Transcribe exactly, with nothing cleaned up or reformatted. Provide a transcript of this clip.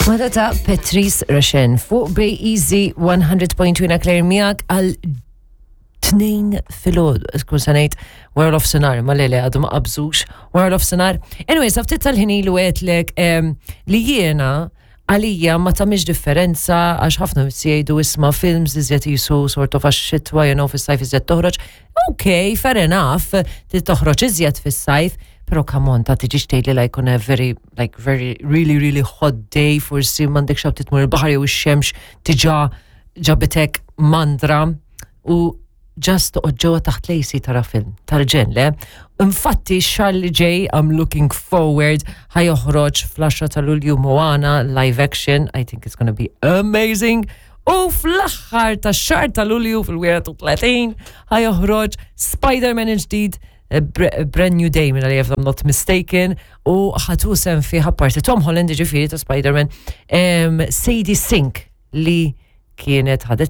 Mada ta' Patrice Rushen fuq Bay Easy one hundred point two, Claire miegħek għal tnejn filgħodu, skun sanajt wara nofsinhar, ma lele għadu ma qabżux wara nofsinhar. Anyway, sa ftit tal-ħin ilu għedtlek li jiena għalija ma tagħmilx differenza, għax ħafna jgħidu, "Isma', films iżjed jisu sort of għax xitwa, you know, fis-sajf iżjed toħroġ." Ok, fair enough, ti toħroġ iżjed fis-sajf, pero come on, ta' tiġix tgħidli like on a very, like very, really, really hot day, forsi m'għandek xabti tmur il-baħar jew ix-xemx diġà ġabitek mandra u just toqgħod ġewwa taħt l-A C tara film tal-ġen, le? Infatti xahar li ġej, I'm looking forward, ħa joħroġ fl-għaxra ta' Lulju Moana live action. I think it's gonna be amazing. U fl-aħħar ta' xahar ta' Lulju, fil-wieħed u tletin, ħa joħroġ Spider-Man il-ġdid, a Brand New Day, minn if I'm not mistaken, u ħa tieħu sehem fih, apparti Tom Holland, ġifieri ta' Spider-Man, um, Sadie Sink li kienet ħadet